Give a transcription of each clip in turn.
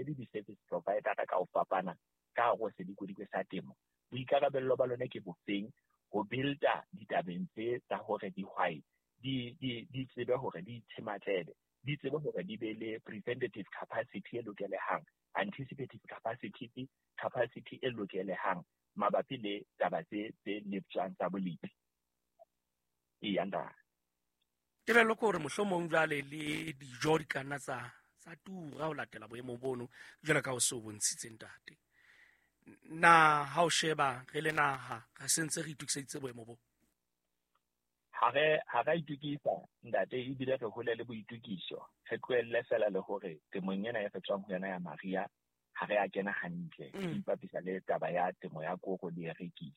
le di-service provider ka ho fapana ka hare ho sedikodikwe sa temo, boikarabello ba lona ke bofeng ho builda ditabeng tse tsa hore dihwai di tsebe hore di itshematlele, di tsebe hore di be le preventative capacity e lokelehang, anticipative capacity e lokelehang mabapi le taba tse leptjwang tsa bolepi. Eya, ntate. Tebello ke hore mohlomong jwale le dijo di ka nna tsa tura ho latela boemo bono jwalo ka o se o bontshitse, ntate. Na ha o sheba re le naha re sentse re itokiseditse boemo bo? Ha re itukisa, ntate, ebile re hole le boitukiso, re tlohelle fela le hore temong ena e re tswang ho yona ya mariha ha re a kena hantle, re ipapisa le taba ya temo ya koro le erekisi.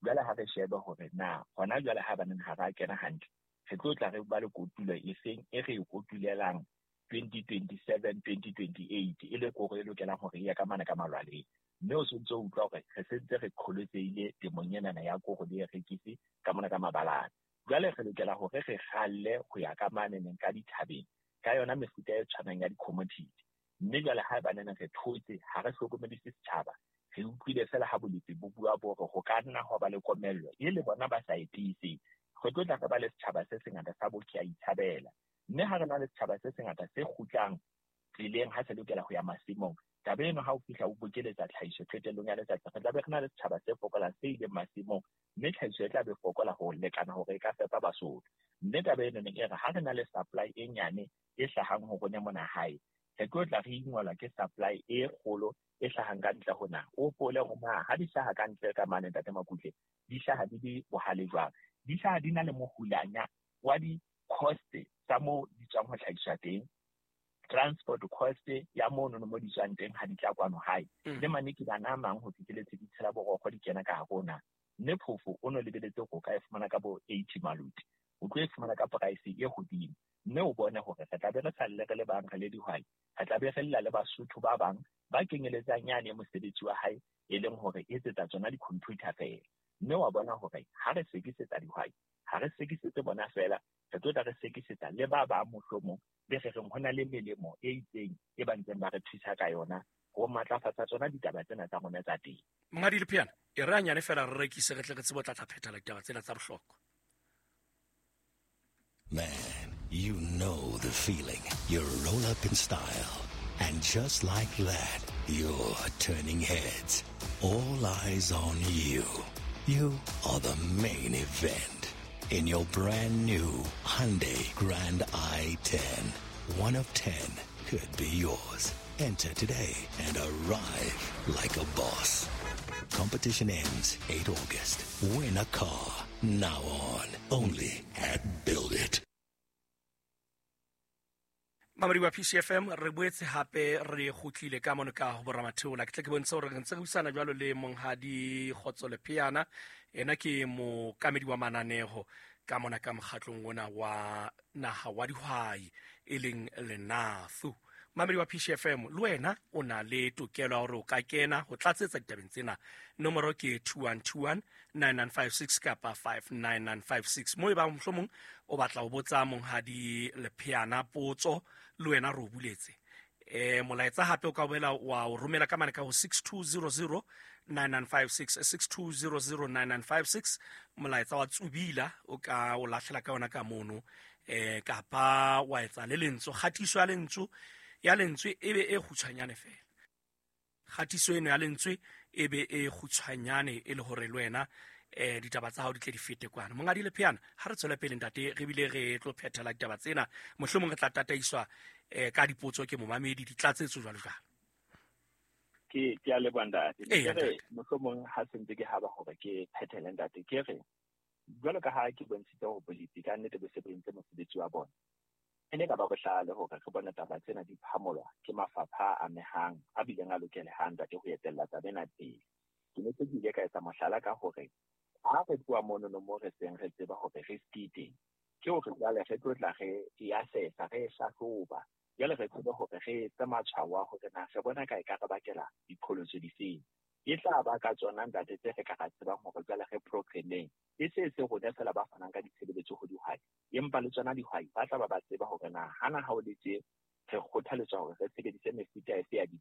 Jwale ha re shebe hore na hona jwale ha baneng ha re a kena hantle, re tlo tla re ba le kotulo e feng e re e kotulelang 2027, 2028, e le koro e lokelang hore e ye ka mane ka malwaleng. Mme o sontso o utlwa hore re sentse re qholotsehile temong enana ya koro le erekisi ka mona ka mabalane. Jwale re lokela hore re kgalle ho ya ka mane neng ka dithabeng ka yona mefuta e tshwanang ya di-commodity. Mme jwale ha eba re thotse, ha re hlokomedise setjhaba, re utlwile fela ha bolepi bo bua bo re ho ka nna ho ba le komello e le bona ba sa e tiiseng, re tlo tla re ba le setjhaba se sengata sa bo ke a itshabela. Mme ha re na le setjhaba se sengata se kgutlang tseleng ha se lokela ho ya masimong, taba eno ha o fihla o bokeletsa tlhahiso qetellong ya letsatsi, re tla be re na le setjhaba se fokolang se ileng masimong, mme tlhahiso e tla be fokola ho lekana hore e ka fepa Basotho. Mme taba eno e re ha re na le supply e nyane e hlahang ho rona mona hae, re tlo tla re ingwelwa ke supply e kgolo e hlahang ka ntle ho naha. O hopole hore na ha di hlaha ka ntle ka mane, ntate Makutle, di hlaha di le bohale jwang, di hlaha di na le mohulanya wa di-cost tsa moo di tswang ho hlahiswa teng, transport cost ya mono mo di tswang teng ha di tla kwano hae, le manekibana a mang ho fihleletse di tshela borokgo di kena ka hare ho naha. Mme phofo o no lebeletse hore o ka e fumana ka bo 80 maluti, o tlo e fumana ka price e hodimo. Mme o bone hore re tla be re sa lle re le bang re le dihwai, re tla be re lla le Basotho ba bang ba kenyeletsang yane mosebetsi wa hae e leng hore etsetsa tsona di-computer fela. Mme wa bona hore ha re sekisetsa dihwai, ha re sekisetse bona fela, re tlo tla re sekisetsa le ba bang mohlomong be re reng ho na le melemo e itseng e ba ntseng ba re thusa ka yona ho matlafatsa tsona ditaba tsena tsa rona tsa teng. Monghadi Lepheana, e re hanyane fela re rekise re tle re tsebe ho tla phethela ditaba tsena tsa bohlokwa. Man, you know the feeling. You roll up in style. And just like that, you're turning heads. All eyes on you. You are the main event. In your brand new Hyundai Grand i10. 1 of 10 could be yours. Enter today and arrive like a boss. Competition ends 8 August. Win a car. Now on. Only at Build It. Mamedi wa PCFM, re boetse hape re kgutlile ka mono ka ho boramatheola. Ke tle ke bontshe hore re ntse re buisana jwalo le Monghadi Kgotso Lepheana. Ena ke mookamedi wa mananeho ka mona ka mokgatlong ona wa naha wa dihwai e leng Lenathu. Mamedi wa PCFM, le wena o na le tokelo ya hore o ka kena ho tlatsetsa ditabeng tsena. Nomoro ke 2121 9956 kapa 59956. Mo e bang mohlomong o batla ho botsa Monghadi Lepheana potso, le wena re o buletse. Molaetsa hape o ka boela wa o romela ka mane ka ho 6200 9956, 6200 9956. Molaetsa wa tsubila o ka o lahlela ka yona ka mono, kapa wa etsa le lentswe, kgatiso ya lentswe, ya lentswe e be e kgutshwanyane fela. Kgatiso eno ya lentswe e be e kgutshwanyane e le hore le wena ditaba tsa hao di tle di fete kwana. Monghadi Lepheana, ha re tswele pele ntate, re bile re tlo phethela ditaba tsena, mohlomong re tla tataiswa ka dipotso ke momamedi, ditlatsetso jwalo jwalo. Ke a leboha ntate. Ke re mohlomong ha sentse ke haba hore ke phethele ntate, ke re jwalo ka ha ke bontshitse hore bolepi ka nnete bo se bo entse mosebetsi wa bona, e ne ka ba bohlale hore re bone taba tsena di phamolwa ke mafapha a amehang a bileng a lokelehang ntate ho etella taba ena pele. Ke ne ke ile ka etsa mohlala ka hore ha re tloha monono mo re seng re tseba hore risk e teng, ke hore jwale re tlo tla re e assessa, re e hlahloba, jwale re tsebe hore re etse matshwao a hore na re bona ka e ka re bakela diqholotso difeng. E tla ba ka tsona ntate tse re ka ra tsebang hore jwale re programmeng, e se se rona fela ba fanang ka ditshebeletso ho dihwai, empa le tsona dihwai ba tla ba ba tseba hore na hana ha o le tje re kgothaletswa hore re sebedise mefuta efe ya dipeo.